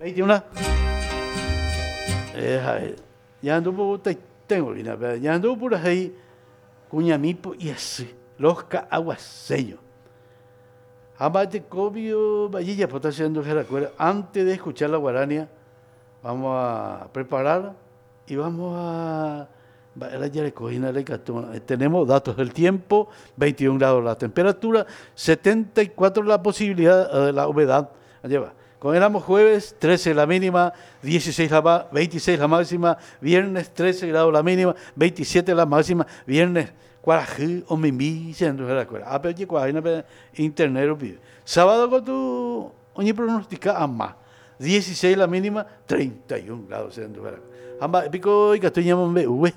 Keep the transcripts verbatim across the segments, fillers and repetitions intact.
Veintiuna. Eh, ya anduvo tengo ya anduvo por ahí cuñamipo y así los aguaseños. Amate cobio vallilla pues haciendo antes de escuchar la guarania vamos a preparar y vamos a tenemos datos del tiempo, veintiún grados la temperatura, setenta y cuatro la posibilidad de la humedad. Lleva. Con éramos jueves, trece la mínima, dieciséis la veintiséis la máxima, viernes trece grados la mínima, veintisiete la máxima, viernes cuarajú o mimí, internet. Sábado con tu oñe pronostica a más, dieciséis la mínima, treinta y un grados. Amba pico y castaña me uwe.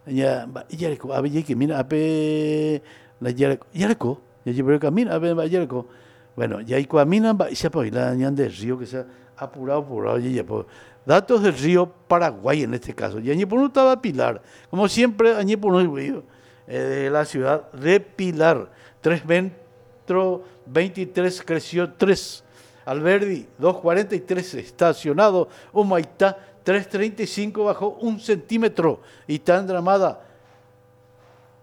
Ya yareko abe que mira ape la yareko yareko ya llevo camino ape yareko. Bueno, ya hay camina va se la de río que se ha apurado apurado ya pues datos del río Paraguay en este caso. Y añe por no estaba Pilar, como siempre añe por no de la ciudad de Pilar, tres metros veintitrés creció tres. Alberdi dos cuarenta y tres estacionado, Humaitá tres treinta y cinco bajó un centímetro, Itandramada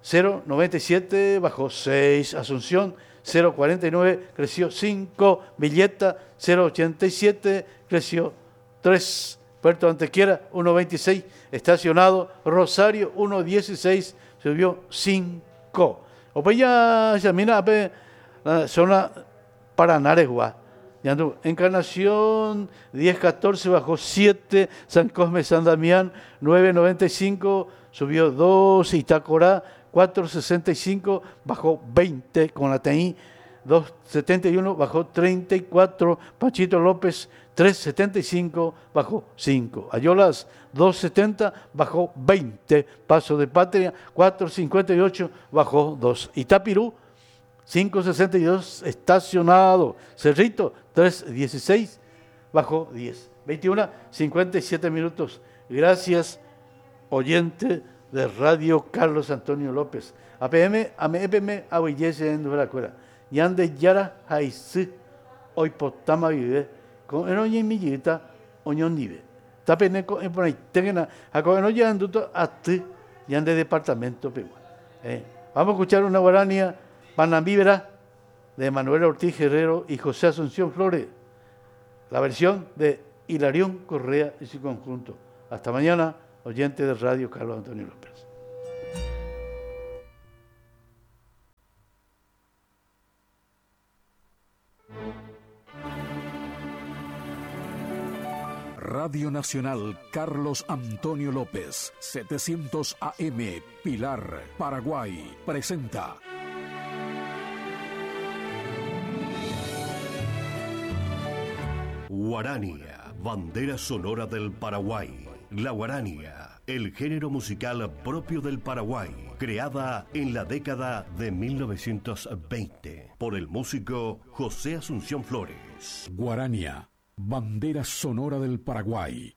cero noventa y siete bajó seis, Asunción cero cuarenta y nueve creció cinco, Villeta cero ochenta y siete creció tres, Puerto Antequera uno veintiséis estacionado, Rosario uno dieciséis subió cinco. O pues ya se mira la zona Paranaregua. Encarnación diez catorce bajó siete, San Cosme San Damián nueve noventa y cinco subió dos, Itacorá cuatro sesenta y cinco bajó veinte, con la T I dos setenta y uno bajó treinta y cuatro, Panchito López tres setenta y cinco bajó cinco, Ayolas dos setenta bajó veinte, Paso de Patria cuatro cincuenta y ocho bajó dos, Itapirú cinco sesenta y dos estacionado, Cerrito tres dieciséis bajó diez. veintiuno cincuenta y siete minutos. Gracias, oyente de Radio Carlos Antonio López. A P M, A M E P M, A B Y S en Duracuera. Yande Yara Jaisí, hoy potama vive, con enoña y millita, oñondive. Tapeneco en por ahí, tengan a con enoña anduto a ti, yande departamento pegua. Eh, vamos a escuchar una guarania Panambíbera de Manuel Ortiz Guerrero y José Asunción Flores, la versión de Hilarión Correa y su conjunto. Hasta mañana, oyente de Radio Carlos Antonio López. Radio Nacional Carlos Antonio López, setecientos A M, Pilar, Paraguay, presenta Guarania, bandera sonora del Paraguay. La guarania, el género musical propio del Paraguay, creada en la década de mil novecientos veinte por el músico José Asunción Flores. Guarania, bandera sonora del Paraguay.